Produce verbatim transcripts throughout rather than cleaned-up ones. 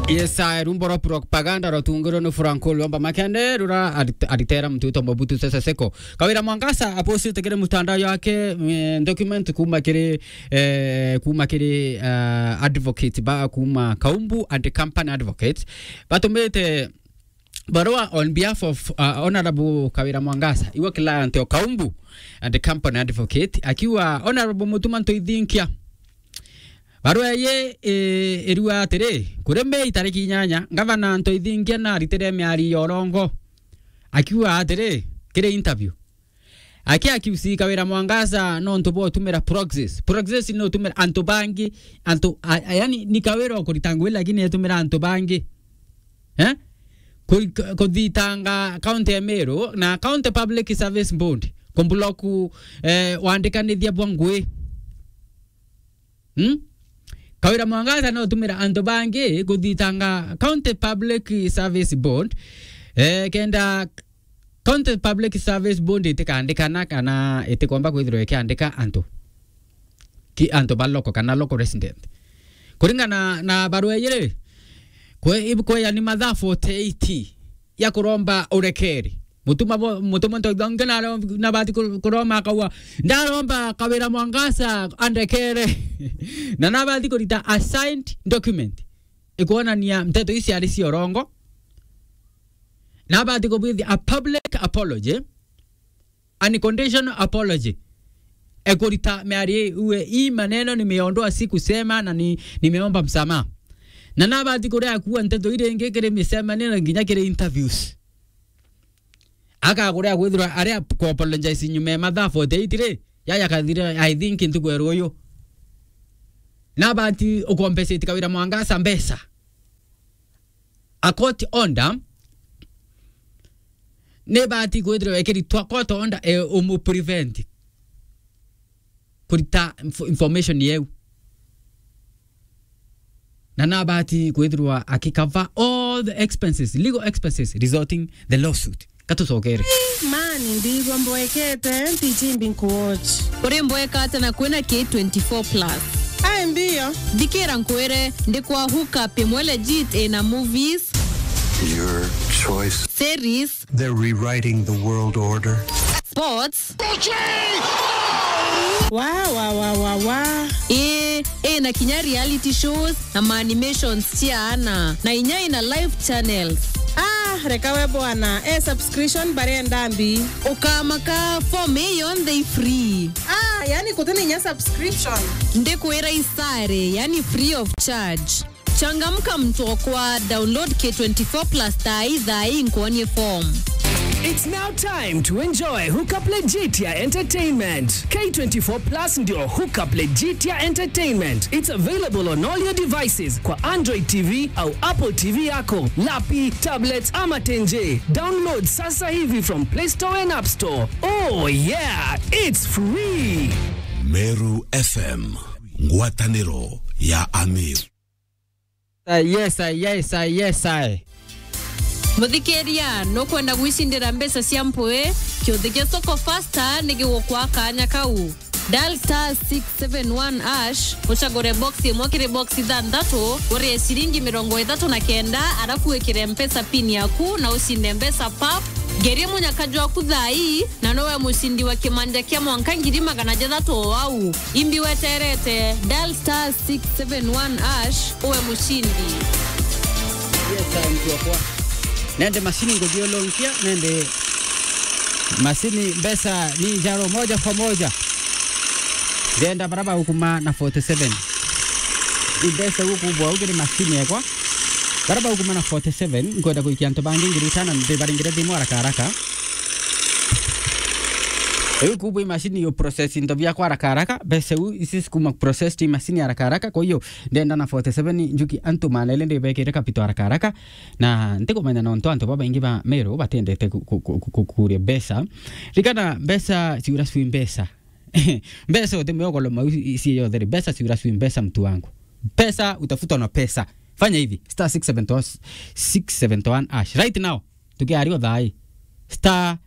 Yes, I, rumbo rwa propaganda rwatungirwe ni Franco Luamba Makende, rura arit-, aritera mtu witwa Mobutu Sese Seko. Kawira Mwangaza apostite kiri mutandao yake, eh, document kuma kiri, eh, kuma kiri, eh, advocate ba kuma Kaumbu and Company Advocates. Batumite barua on behalf of, uh, Honorable Kawira Mwangaza, iwe client o Kaumbu and Company Advocate, akiuga, "Honorable Mutuma Ntoithinkia, barua ii, i-, irua atiri, kuri Mei tariki inyanya, Ngavana Ntoithinkia naritire miario ya urongo, akiuga atiri, kiri interview, aki accuse Kawira Mwangaza nontu bwa utumira proxies." Proxies ni utumira antu bangi, antu, a, a, yani, ni Kawira ukurita ngui, lakini etumira antu bangi. Eh? Ku-, ku-, kuthitanga county ya Meru na County Public Service Board, kumblock, eh, wandikanithia bwa ngui. Hmm? Kawira Mwangaza no utumira antu bangi kuthitanga County Public Service Board, eh, kenda County Public Service Board itikandikana kana itikomba kwithirwa ikiandika antu. Ki antu ba local kana local resident. Kuringana na barua ii ri, kwe-, ib-, kweya ni mathaa forty-eight ya kuromba urekeri. Mutuma bo-, mutuma Ntoithinkia na, nabati ku-, kuroma akauga, "Ndaromba Kawira Mwangaza andekere." Na nabati kurita a signed document ikwonania nteto ici ciari cia urongo. Nabati kubwithia a public apology, unconditional apology. Ekurita miario iu, "Hii maneno nimeondoa, sikusema na ni-, nimeomba msamaha." Na nabati kuria kuua nteto iria ingi kiri micemanio na nginya kiri interviews. Akaguria kwithirwa aria ku apologize nyuma ya mathaa forty-eight ri, yaya kathire, I think, ntuku ya ruuyu. Nabati ukompensate Kawira Mwangaza mbeca. A court order nibati kwithirwa ikiritwa court order, e, umu prevent kurita inf-, information yeu. Na nabati kwithirwa akicover all the expenses, legal expenses resulting the lawsuit. Katucokere. Mani, ndigwa mboekete, ntichimbi nkuwatch. Uri mboeka ata na kwina K twenty-four plus? Ai, mbio. Thikira nkwire, ndi kwa hookup imwe legit ina movies, your choice, series, they're rewriting the world order, sports, Wa, wa, wa, wa, wa. Ii, ina kinya reality shows na ma animations cia ana, na inya ina live channels. Ah, reka we bwana, e subscription barenda mbi. Ukamaka, form ii yonthe i free. Ah, yani kutina inya subscription. Ndikwira isare, yani free of charge. Changamka mtokwa, download K twenty-four plus thaa ii, thaa ii nkuonie form. It's now time to enjoy Hookup Legit ya Entertainment. K twenty-four plus ndio Hookup Legit ya Entertainment. It's available on all your devices kwa Android T V au Apple T V yako, lapi, tablets ama tenje. Download sasa hivi from Play Store and App Store. Oh yeah, it's free. Meru F M, ngwataniro ya Amir. Ah, yes, I, yes, I, yes, I. Muthikiria, nukwenda gwicindira mbeca cia mpwi? Kiuthi kia Soko Faster ni gigukwa kanya kau. Dial star six seven one hash, ucagure box imwe kiri box ithanthatu, urie ciringi mirongo ithatu na kenda, arafu wikire Mpesa pin yaku na ucinde mbeca pap. Ngerie munyaka jwaku thaa ii, na nowe mucindi wa kimanja kia mwanka ngiri magana jathatu o au. Imbi weterete, dial star six seven one hash, uwe mucindi. Yes, I, mtu wakwa. Nende macini nguthiulunkia, nende macini mbeca ni njaro moja kwa moja. Ndenda bara baukuma na forty-seven. Imbeca gukubwa ugiri macini ekwa. Bara baukuma na forty-seven, nkwenda kuikia antu bangi ngiri itano, ndibaringire thimu haraka haraka. Riu kubwa imashini yo process into biakwa haraka haraka, mbeca iu ici cikuma process tu imashini haraka haraka, kwa hiyo ndenda na forty-seven njuki antu manele ndibekire capital haraka haraka, na ntikumenya nontu antu babaingi ba Meru batendete ku-, ku-, ku-, ku-, kuria mbeca. Rikana mbeca ciura cwi mbeca. Mbeca uti mwio koloma u-, i-, cie yothe ri, mbeca ciura cwi mbeca mtu wangu. Pesa utafutwa na pesa. Fanya hivi, star six seven one, six seven one hash. Right now, tukiaria thaa ii, star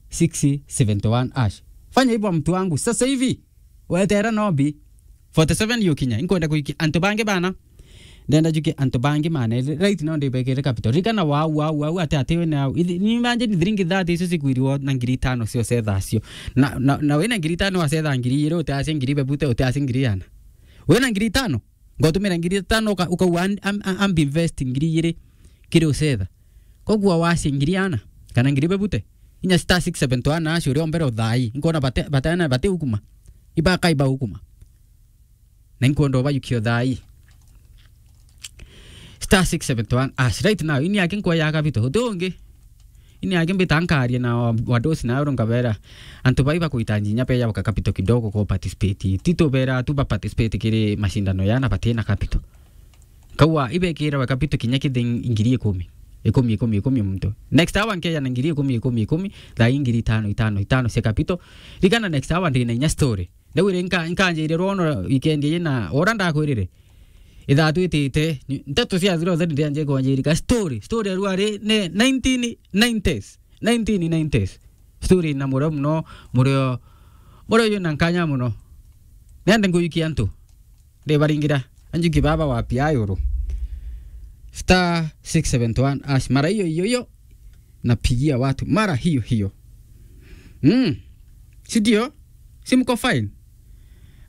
six seven one hash. Fanya hivyo mtu wangu, sasa hivi. Wetera nombi. Forty-seven yukinya. Inkwenda kuikia antu bangi bana. Ndenda njukie antu bangi maneri, right now ndibekere capital. Ririkana wau, wau, wau, ati, ati wina au. Ithi, ni imagine thiringi thirty icio cikuirwo na ngiri itano cio cetha cio. Na, na, na wina ngiri itano wacetha ngiri igiri, utiacia ngiri bebute, utiacia ngiri ana. Wina ngiri itano, ngotumira ngiri itano uka-, ukauga am-, am-, am-, ambi invest ngiri igiri kiri ucetha. Koguo wacia ngiri ana, kana ngiri bebute. Inya star six seven two one acio uria mbere uthai. Nkona bate, bate, bate ukuma. Ibaka iba ukuma. Na inkwenda ubayukia uthai. Star six seven one hash. Right now, ini yake nkwa ya capital. Uti ungi. Ini yake mbita nkaria na wa-, wadosi na oro nkabera. Antu bai bakuhitaji inya pia yabaka capital kidogo ku participate. Ti tubera tu ba participate kiri mashindano yana batina capital. Kaua ibekira we capital kinya kithi ngiri ikumi. Ikumi, ikumi, ikumi muntu. Next hour nkeya na ngiri ikumi, ikumi, ikumi, thaa ingiri itano, itano, itano cia capital. Rigana next hour ndina inya story. Ndauire nka-, nkanjire rwono weekend ii na ora ndakwirire. Ithatwitite, ni-, nteto cia thiro theni ndianje kwanjirika. Story, story ya ruari ni nineteen nineties. Nineteen nineties. Story na murio muno, murio, murio yu na nkanya muno. Nende nguikia antu. Ndibaringira. Anjuki baba wa pia yuru. Star six seven one hash. Mara hiyo, hiyo, hiyo. Napigia watu mara hiyo hiyo. Mm. Si ndio? Si mko fine?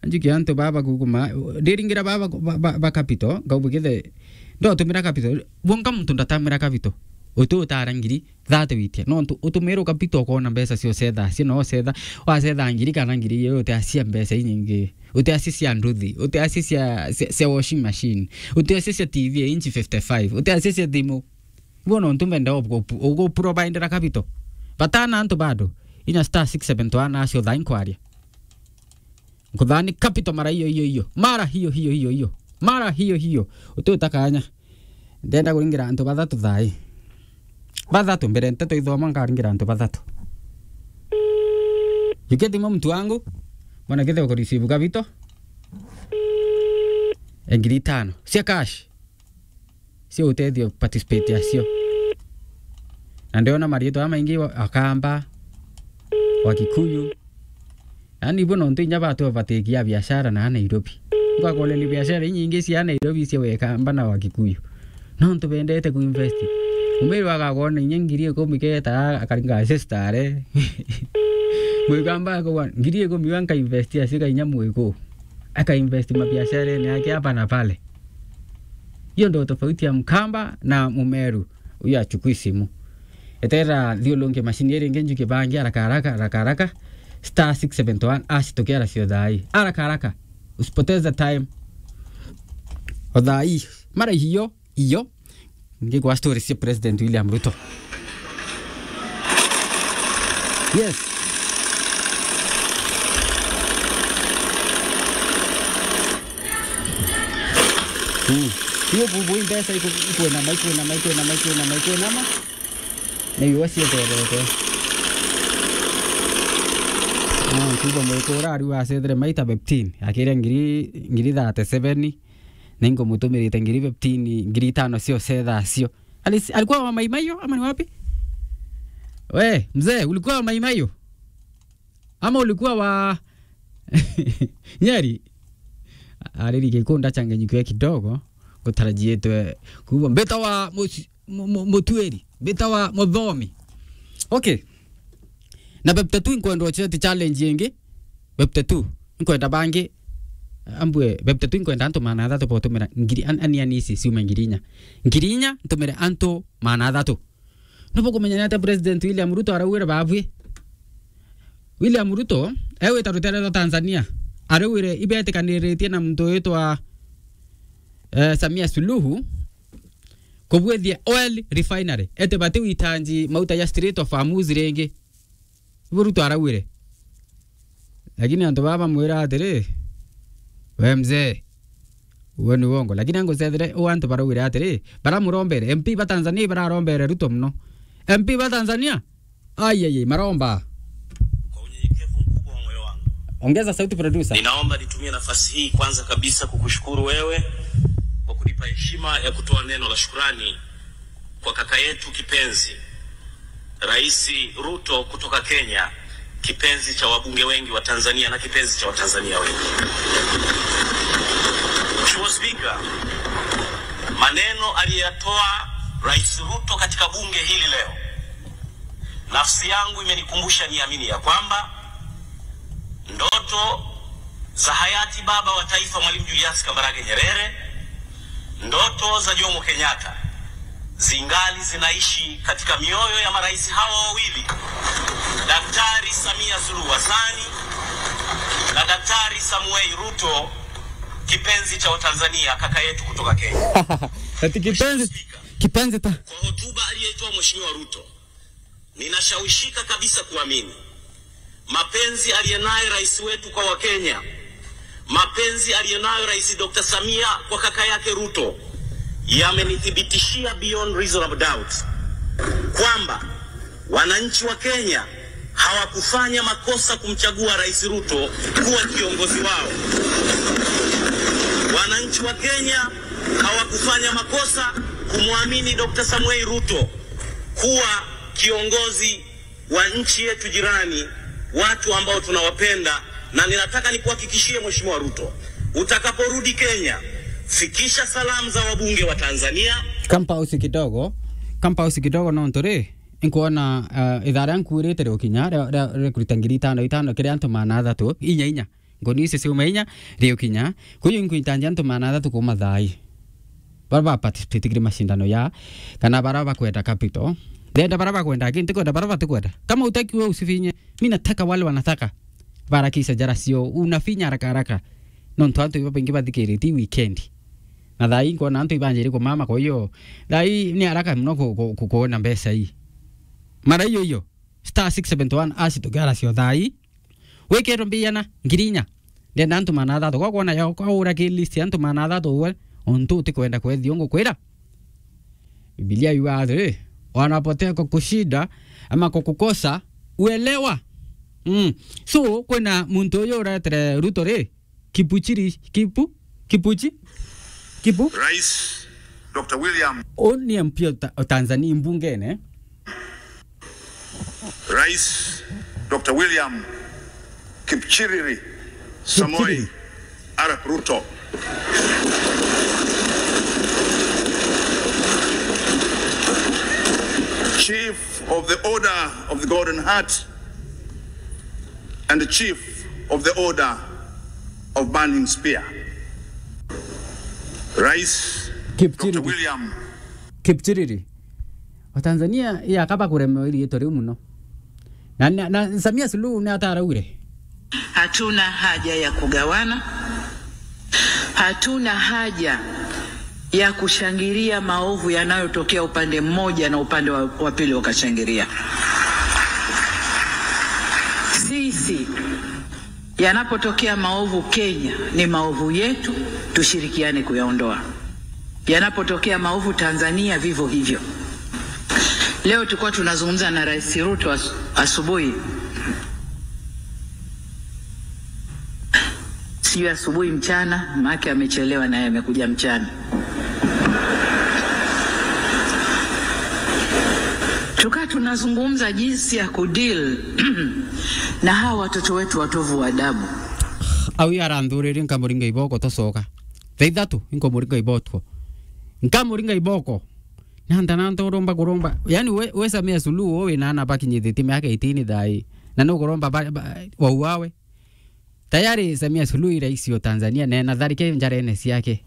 Anjukia antu baba kuguma, ndiringira baba, ba, ba, ba capital, ngaubu githe, ndotumira capital, bonka muntu ndatamira capital. Utu utara ngiri, thate witia. No ntu, utumirwo capital ukona mbeca cio cetha, cio no cetha, wacetha ngiri kana ngiri igiri, utiacia mbeca inyingi. Utiacia cia nduthi, utiacia cia, cia, cia washing machine, utiacia cia T V ya inchi fifty-five, utiacia cia thimu. Ibo nontu mbenda ugu-, uguprovidera capital. Batana antu bado. Inya star six seven one acio thaa inkwaria. Nkuthani capital mara hiyo, hiyo, hiyo. Mara hiyo, hiyo, hiyo, hiyo. Mara hiyo, hiyo. Uti utakanya. Ndenda kuringira antu bathatu thai. Bathatu mbere nteto ithoma nkaringira antu bathatu. Juketi mo mtu wangu. Mwana kithe uko receive capital. Ngiri itano. Cia cash. Cia utethio participate acio. Na ndiona marietwa maingi wa-, Akamba, wa Kikuyu. Yaani, ibo nontu inya batu batikia biashara na Nairobi. Ngwakoreri biashara inyingi cia Nairobi cia Wekamba na wa Kikuyu. Nontu bendete kuinvest. Umwiri wagakona inya ngiri ikumi keta akaringa sister are. Mwikamba akauga, "Ngiri ikumi iga nkainvest acika inya mwiku." Akainvest mabiasharene yake hapa na pale. Hiyo ndio tofauti ya Mkamba na Mumeru. Huyo achukui simu. Etera thiulunge mashini iri ingi njuke bangi haraka haraka, haraka haraka. Star six seven one hash tukiara cio thai. Haraka haraka. Usipoteze time. O thai. Mara hiyo, hiyo. Ngigwa story cia President William Ruto. Yes. Mm. Hiyo bubu hii mbeca iku-, ikwinama, ikwinama, ikwinama, ikwinama, ikwinama. Na iwa cieterete. Ah, nkuuga mwikura ariu acethire maita fifteen. Akire ngiri, ngiri thirty-seven. Na ingomutumirite ngiri fifteen, ngiri itano cio cetha cio. Ali-, alikuwa wa Mai Mahiu ama ni wapi? We, mzee, ulikuwa wa Mai Mahiu? Ama ulikuwa wa Nyeri? Ariri gikunda changanyikiwe kidogo, gutarajietwe kuuga mbeta wa muci-, mu-, mu-, mutueri, mbeta wa muthomi. Okay. Na bebta tu inkwenda ochete challenge ingi. Bebta tu inkwenda bangi. Ambwe bebta tu inkwenda antu maana athatu botumira ngiri an-, ani, ani ici ciume ngiri inya. Ngiri inya ntumire antu maana athatu. Nubo kumenya ni atia President William Ruto araugire babwi? William Ruto, e wita rutere rwa Tanzania, araugire ibetikaniritie na muntu witwa, eh, Samia Suluhu kubwithia oil refinery. Ete bati witanji mauta ya Strait of Hormuz ringi. Ibo Ruto araugire. Lakini antu baba bamwira atiri, "We mzee, uo ni uongo." Lakini angucethire u antu baraugire atiri, baramurombere, M P ba Tanzania bararombere Ruto muno. M P ba Tanzania, ai, ai, ai, maromba. Kwa unyenyekevu mkubwa wa moyo wangu. Ongeza sauti, producer. Ninaomba nitumie nafasi hii kwanza kabisa kukushukuru wewe kwa kunipa heshima ya kutoa neno la shukrani kwa kaka yetu kipenzi, Rais Ruto kutoka Kenya, kipenzi cha wabunge wengi wa Tanzania na kipenzi cha Watanzania wengi. Mheshimiwa Spika, Neno aliyoyatoa Rais Ruto katika bunge hili leo, nafsi yangu imenikumbusha niamini ya kwamba ndoto za hayati baba wa taifa Mwalimu Julius Kambarage Nyerere, ndoto za Jomo Kenyatta zingali zinaishi katika mioyo ya marais hawa wawili, Daktari Samia Suluhu Hassani na Daktari Samuel Ruto, kipenzi cha Watanzania, kaka yetu kutoka Kenya. Ati kipenzi, Mheshimiwa Spika, kipenzi ta kwa hotuba aliyoitoa Mheshimiwa Ruto, ninashawishika kabisa kuamini mapenzi aliyenayo rais wetu kwa Wakenya, mapenzi aliyenayo Rais Doctor Samia kwa kaka yake Ruto yamenithibitishia beyond reasonable doubt kwamba wananchi wa Kenya hawakufanya makosa kumchagua Rais Ruto kuwa kiongozi wao. Wananchi wa Kenya hawakufanya makosa kumwamini Doctor Samuel Ruto kuwa kiongozi wa nchi yetu jirani, watu ambao tunawapenda, na ninataka nikuhakikishie Mheshimiwa Ruto, utakaporudi Kenya, fikisha salamu za wabunge wa Tanzania. Ka mpause kidogo, ka mpause kidogo, nontu ri, nkwona, eh, ithaa ria nkuurite riukinya, ria, ria, ria kurita ngiri itano itano, kiri antu maana athatu, inya inya. Nguni icio ciuma inya, riukinya. Kwou inkwintanjia antu maana athatu kuuma thaa ii. Bara ba participate kiri mashindano ya, kana bara bakwenda capital. Ndenda bara bakwenda, aki ntikwenda bara batikwenda. Kama utaki we usifinye, mi nataka wale wanataka. Barakisha jara cio, unafinya haraka haraka. Nontu antu iba baingi bathikiritie weekend. Na thaa ii nkwona antu ibanjiri kumama, kwa hiyo, thaa ii ni haraka muno ku-, ku-, ku-, kuona mbeca ii. Mara iyo iyo, star six seventy one hash tukiara cio thaa ii. Wikirwe mbiana ngiri inya. Ndenda antu maana athatu. Kwa kwona ya, kwa ura ki list ya antu maana athatu uwe, untu utikwenda kwethia ungukwira. Biblia yuga atiri, "Wanapotea kwa kushinda ama kwa kukosa uelewa." Mm. So, kwina muntu uyu uretere Ruto ri, Kipuchiri, Kipu, Kipuchi, Kipu. Rais Doctor William. U ni M P o Ta-, o Tanzania, mbungene. Rais Doctor William Kipchiriri Samoei Kipchiriri. Arap Ruto. Chief of the Order of the Golden Heart and the Chief of the Order of Burning Spear. Rais Kipchiriri. Doctor William Kipchiriri. Watanzania, ya kaba kuremewa iriitwa riu muno. Na, na, na Samia Suluhu ni ataraugire. Hatuna haja ya kugawana. Hatuna haja ya kushangilia maovu yanayotokea upande mmoja na upande wa, wa pili wakashangilia. Sisi, yanapotokea maovu Kenya, ni maovu yetu, tushirikiane kuyaondoa. Yanapotokea maovu Tanzania, vivyo hivyo. Leo tulikuwa tunazungumza na Rais Ruto as-, asubuhi. Sijui asubuhi, mchana, maana amechelewa naye amekuja mchana. Tukaa tunazungumza jinsi ya kudeal na hawa watoto wetu watovu wa adabu. Au aranthuririe nkamuringa iboko tocoka. Thaa ithatu, inkomuringa iboko. Nkamuringa iboko. Nanta, nanta uromba kuromba. Yaani we, we Samia Suluhu, we wina ana bakinyithitie miaka eighteen thaa ii. Na nukuromba ba, ba, wauawe. Tayari Samia Suluhu i rais wa Tanzania, na ena tharike njarene ciake.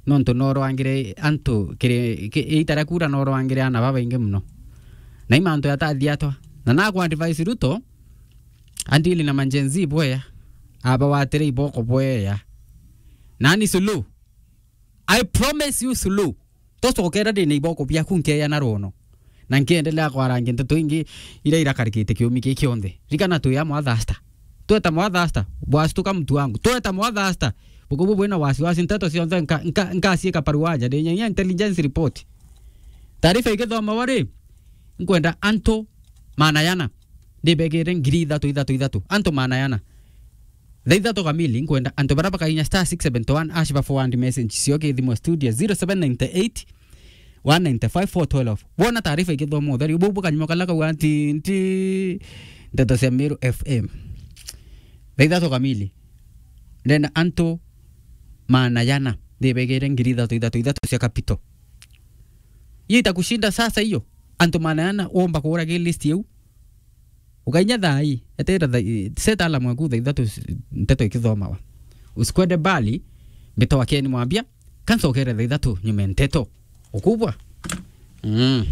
Nontu norwangire antu kiri, ki-, ita ria kura norwangire ana babaingi muno. Na i mantu yatathi atwa. Na naku advise Ruto, andili na ma Gen Z bwea, abawatire iboko bwea. Nani Suluhu? I promise you, Suluhu, tocokera ndina iboko biaku nkeya na rwono. Na nkiendelea kwarangia nteto ingi iria irakarikite kiumi giki kionthe. Rikana twi amwe a Thasta. Tweta mwa Thasta, bwastuka mtu wangu. Tweta mwa Thasta. Buku bu bwina wasiwasi, nteto cionthe nka-, nka-, nkaciika paruaja, ndi nyagia intelligence report. Taarifa igithomagwa ri, nkwenda antu maana yana. Ndibegire ngiri ithatu, ithatu, ithatu. Antu maana yana. Thaa ithatu kamili, nkwenda antu baria bakainya star six seven one hash ba forward message cio ki thimu studio zero seven nine eight, one nine five, four twelve. Wona taarifa igithomwa utheri, ubu bukanyuma kala kauga nti, nti, nteto cia Meru F M. Thaa ithatu kamili, ndenda antu maana yana, ndibegere ngiri ithatu, ithatu, ithatu cia capital. Hiyo itakushinda sasa hiyo. Antu maana ana womba kuura ki list yeu. Ukainya thaa ii, eteera thaa, set alarm yaku thaa ithatu s-, nteto ikithomawa. Usikwende mbali, mbitawa Ken Mwambia, kansa ukere thaa ithatu nyume nteto. Ukubwa? Mm.